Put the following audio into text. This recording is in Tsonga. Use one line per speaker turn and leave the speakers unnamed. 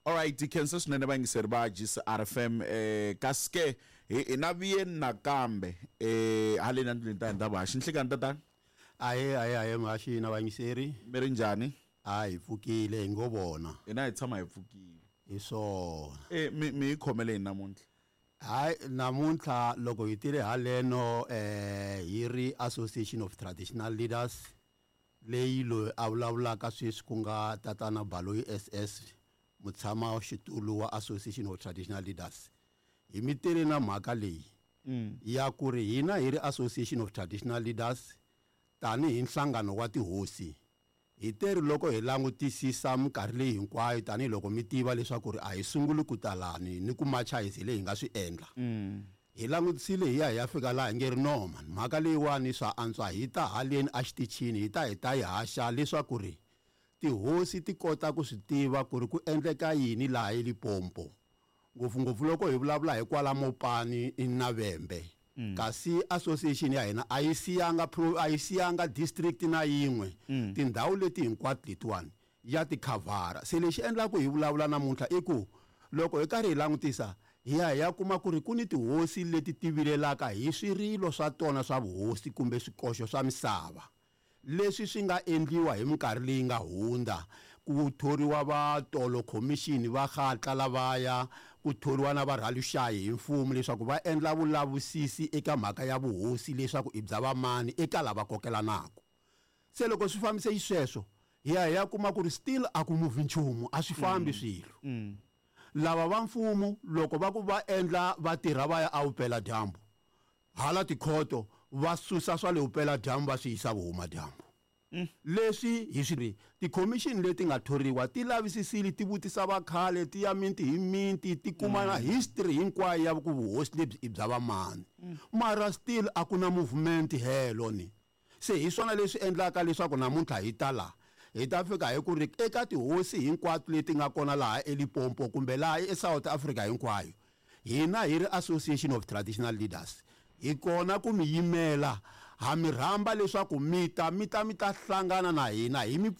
Alright, hi khensa swinene vayingiseri va GCRFM. Kasi ke hi na vuyeni nakambe haleni endlwini ta hina ta vuhaxi. Nhlikani tatana.
Ahe, ahe, ahe, muhaxi na vayingiseri.
Mi ri njhani?
A hi pfukile, hi ngo vona.
Hina hi tshama hi pfukile.
Hi swona.
Mi hi khomele yini namuntlha?
Hayi, namuntlha loko hi tile haleno hi ri Association of Traditional Leaders leyi loyi a vulavulaka sweswi ku nga tatana Baloyi SS, mutshama xitulu wa Association of Traditional Leaders. Hi mi tele na mhaka leyi ya ku ri hina hi ri Association of Traditional Leaders tanihi nhlangano wa tihosi hi teri loko hi langutisisa minkarhi leyi hinkwayo, tanihiloko mi tiva leswaku ri a hi sunguli ku talani ni ku macha hi leyi hi nga swi endla. Hi langutisile hi ya hi ya fika laha hi nge ri no man, mhaka leyiwani swa antswa hi ta haleni exitichini, hi ta hi ta yi haxa leswaku ri tihosi ti kota ku swi tiva ku ri ku endleka yini laha eLimpopo, ngopfungopfu loko hi vulavula hi kwala Mopani na Vhembe. Kasi association ya hina a yi siyanga pro, a yi siyanga district na yin'we. Tindhawu leti hinkwato letiwani ya ti khavhara. Se lexi endlaku hi vulavula namuntlha i ku loko hi karhi hi langutisa hi ya hi ya kuma ku ri ku ni tihosi leti ti vilelaka hi swirilo swa tona swa vuhosi kumbe swikoxo swa misava leswi swi nga endliwa hi minkarhi leyi nga hundza, ku thoriwa va tolo commission va hatla lavaya, ku thoriwa na varhaluxayi hi mfumo leswaku va endla vulavisisi eka mhaka ya vuhosi leswaku i bya vamani eka lava kokelanaka. Se loko swi fambise xisweswo hi ya hi ya kuma ku ri still a ku move nchumu, a swi fambi swilo. Lava va mfumo loko va ku va endla va tirha va ya evupela dyambu, hala tikhoto va susa swa le vupela dyambu va swi yisa vuhuma dyambu. Leswi hi swi ri tikhomixini leti nga thoriwa ti lavisisile, ti vutisa vakhale, ti ya minti hi minti, ti kuma na history hinkwayo ya ku vuhosi lebyi i bya vamani. Mara still a ku na movement helo ni. Se hi swona leswi endlaka leswaku namuntlha hi ta laha hi ta fika hi ku ri eka tihosi hinkwato leti nga kona laha eLimpopo kumbe laha eSouth Africa hinkwayo, hina hi ri Association of Traditional Leaders hi kona ku mi yimela, ha mi rhamba leswaku mi ta mi ta mi ta hlangana na hina hi mi.